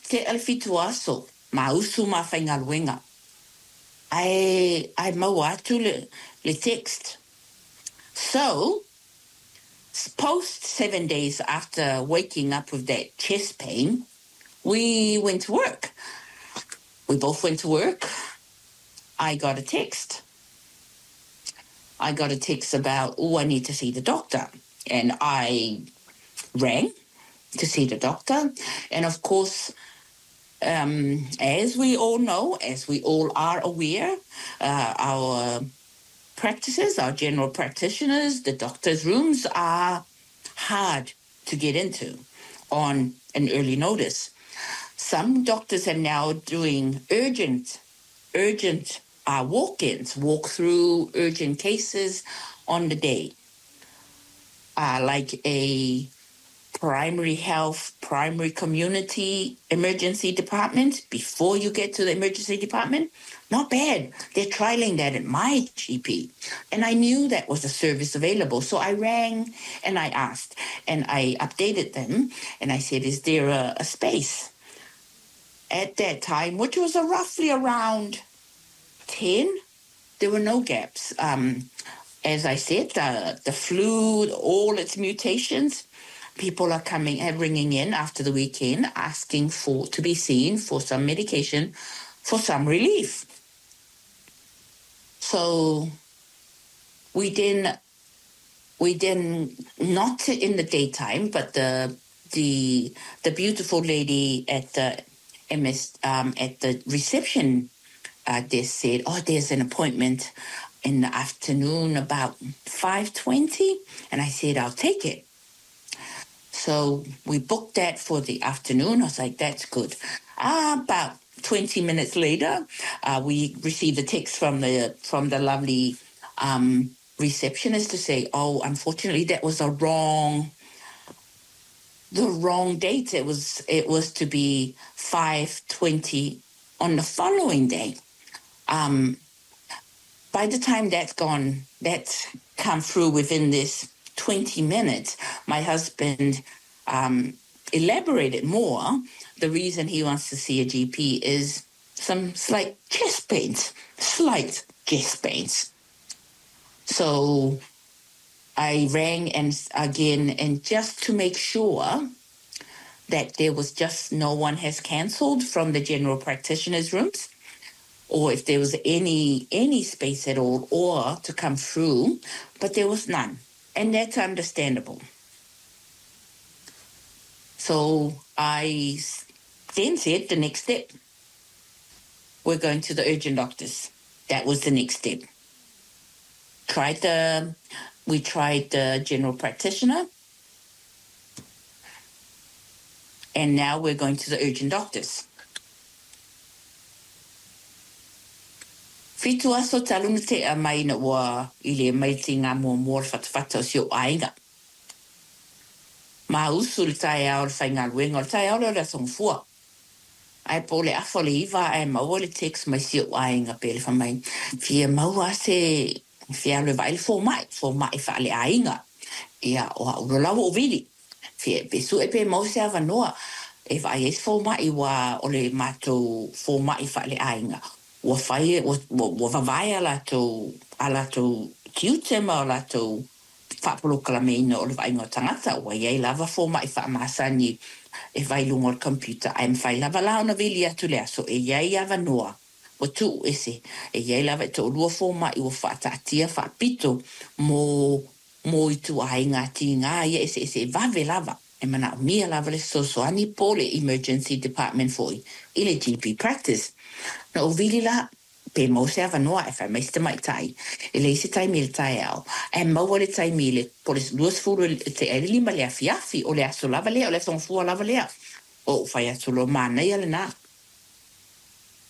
Tea le 7 aso, ma usu ma faigaluega. Ae maua atu le text. So, post 7 days after waking up with that chest pain, we went to work. We both went to work. I got a text. I got a text about, "Oh, I need to see the doctor." And I rang to see the doctor. And of course, as we all know, as we all are aware, our practices, our general practitioners, the doctors' rooms are hard to get into on an early notice. Some doctors are now doing urgent walk-ins, walk through urgent cases on the day. Like a primary health, primary community emergency department before you get to the emergency department. Not bad. They're trialing that at my GP. And I knew that was a service available. So I rang and I asked and I updated them and I said, "Is there a space?" At that time, which was roughly around 10, there were no gaps. As I said, the flu, all its mutations, people are coming and ringing in after the weekend asking for to be seen for some medication for some relief. So we then not in the daytime, but the beautiful lady at the MS at the reception desk said, "Oh, there's an appointment in the afternoon about 5:20," and I said, "I'll take it." So we booked that for the afternoon. I was like, "That's good." About 20 minutes later, we received a text from the lovely receptionist to say, "Oh, unfortunately, that was the wrong date. It was to be 5:20 on the following day." By the time that's gone, that's come through within this 20 minutes, my husband elaborated more. The reason he wants to see a GP is some slight chest pains, slight chest pains. So I rang and again, and just to make sure that there was just no one has cancelled from the general practitioners' rooms, or if there was any space at all, or to come through, but there was none, and that's understandable. So I then said the next step, we're going to the urgent doctors. That was the next step. Tried the we tried the general practitioner, and now we're going to the urgent doctors. 7 aso talu na tea mai na ua i le mai ti ngā mua le fatafata o si o aiga. Ma usu le taeao le faigaluega o le taeao lea o le aso Gafua. Ae po o le 8:30 ae maua le text mai si ou aiga pe le fai mai, fia maua se fia alu e vaai le fomai, fomai faaleaiga. Ia, o au loa la ua ou vili. Fia pe sue pe maua se avanoa e vaai ai se fomai ua o le matou fomai faaleaiga. Ua fai, ua vavae a latou tiute ma o latou faapolokalameina o le vaaiga o tagata ua iai lava fomai faamasani e fai luga o le computer ae mafai lava la ona vili atu le aso e iai avanoa ua tuu ese e iai lava e toalua fomai ua faataatia faapito mo ituaiga tigā ia eseese e vave lava e manaomia lava le fesoasoani po o le emergency department foi i le GP practice. Na ou vili la pe maua se avanoa e fai mai se tamaitai e leai se taimi i le taeao ae maua le taimi i le po o le 4:40 le afiafi o le aso lava lea o le aso Gafua lava lea. O ou fai atu loa manaia lenā.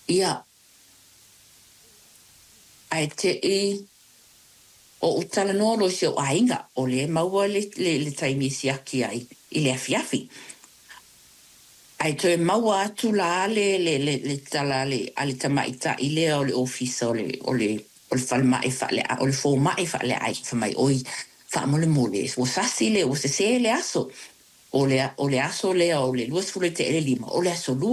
Ia ae te'i o ou talanoa loa i si ou aiga o lea e maua le taimi e siaki ai i le afiafi. Ae toe maua atu la le tala a le tamaitai lea o le ofisa o le falemai faale o le fomai faaleaiga fai mai, "Oi, faamolemole ua sasi le ua sesē le aso." O le aso lea o le 25, o le aso Lua.